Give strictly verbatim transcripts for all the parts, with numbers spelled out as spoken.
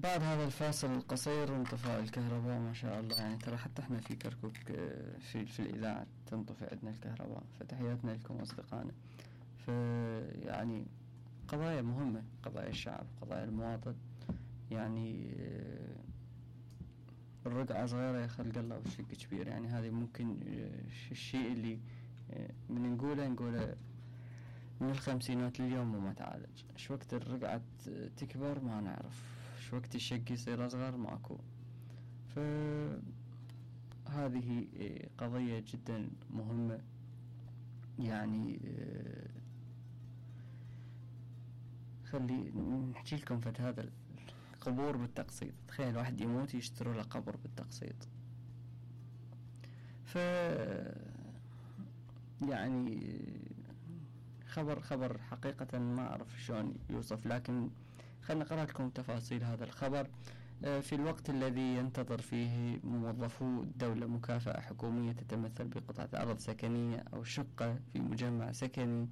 بعد هذا الفاصل القصير وانطفاء الكهرباء ما شاء الله، يعني ترى حتى احنا في كركوك في في الإذاعة تنطفئ عندنا الكهرباء، فتحياتنا لكم أصدقائنا. فيعني قضايا مهمة، قضايا الشعب، قضايا المواطن. يعني الرقعة صغيرة يا خلق الله والشق كبير، يعني هذه ممكن الشيء اللي من نقوله نقوله من الخمسينات لليوم وما تعالج. شو وقت الرقعة تكبر ما نعرف، شو وقت الشق يصير أصغر ماكو. فهذه قضية جدا مهمة. يعني خلي نحكي لكم فت هذا القبور بالتقسيط. تخيل واحد يموت يشتروا له قبر بالتقسيط. ف يعني خبر خبر حقيقة ما أعرف شلون يوصف، لكن خلنا نقرأ لكم تفاصيل هذا الخبر. في الوقت الذي ينتظر فيه موظفو الدولة مكافأة حكومية تتمثل بقطعة أرض سكنية أو شقة في مجمع سكني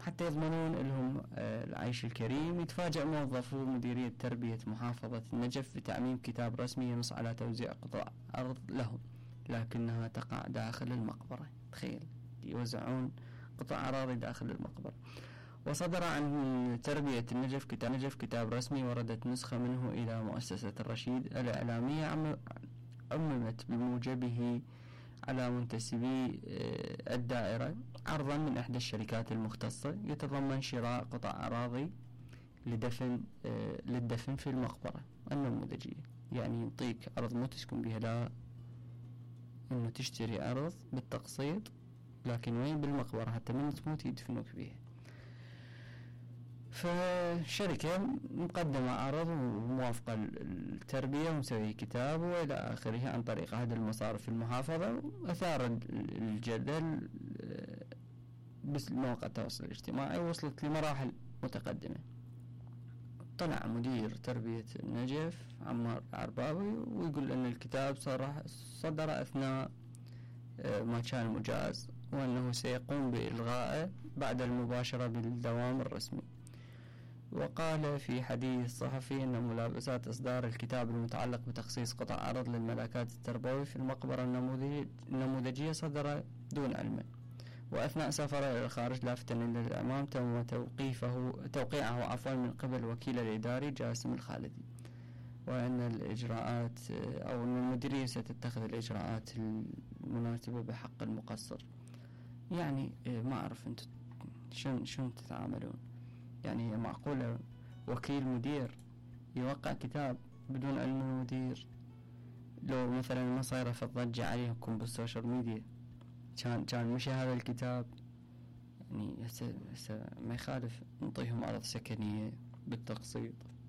حتى يضمنون لهم العيش الكريم، يتفاجأ موظفو مديرية تربية محافظة النجف بتعميم كتاب رسمي ينص على توزيع قطع أرض لهم لكنها تقع داخل المقبرة. تخيل يوزعون قطع أراضي داخل المقبرة. وصدر عن تربية النجف كتاب نجف كتاب رسمي وردت نسخة منه إلى مؤسسة الرشيد الإعلامية عممت بموجبه على منتسبي الدائرة عرضا من إحدى الشركات المختصة يتضمن شراء قطع أراضي لدفن للدفن في المقبرة النموذجية. يعني يعطيك أرض مو تسكن بها، لا إنه تشتري أرض بالتقسيط، لكن وين؟ بالمقبرة، حتى من تموت يدفنوك بها. فشركة مقدمة عرض وموافقة التربية ومسوي كتاب وإلى آخره عن طريق أحد المصارف المحافظة، وأثار الجدل بس مواقع التواصل الاجتماعي وصلت لمراحل متقدمة. طلع مدير تربية النجف عمار عرباوي ويقول أن الكتاب صدر أثناء ما كان مجاز، وأنه سيقوم بإلغائه بعد المباشرة بالدوام الرسمي. وقال في حديث صحفي أن ملابسات إصدار الكتاب المتعلق بتخصيص قطع أرض للملاكات التربوي في المقبرة النموذجية صدر دون علمه وأثناء سفره إلى الخارج، لافتا إلى الأمام تم توقيفه توقيعه عفوا من قبل الوكيل الإداري جاسم الخالدي، وأن الإجراءات أو أن المديرية ستتخذ الإجراءات المناسبة بحق المقصر. يعني ما أعرف أنتم شن شن تتعاملون. يعني معقولة وكيل مدير يوقع كتاب بدون علم المدير؟ لو مثلا ما صايرة فضجة عليكم بالسوشيال ميديا كان كان مشي هذا الكتاب. يعني هسه هسه ما يخالف نعطيهم أرض سكنية بالتقسيط.